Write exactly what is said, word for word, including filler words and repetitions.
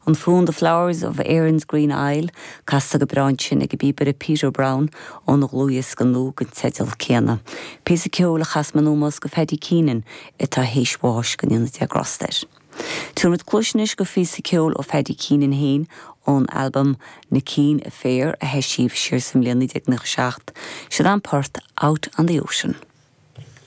An fonn The Flowers of Erin's Green Isle casta go breá ansin ag an bpíobaire Peter Brown óna dhlúthdhiosca nua den teideal céanna. Píosa ceoil a chas mé in ómós do Phaddy Keenan atá théis bháis go ndéana Dia grásta air. Tabharfaimid cluas anois do phíosa ceoil ó Phaddy Keenan féin ón albam Na Keane Affair a eisíodh siar sa mbliain naoi déag nócha seacht, Seo an port Out on the Ocean.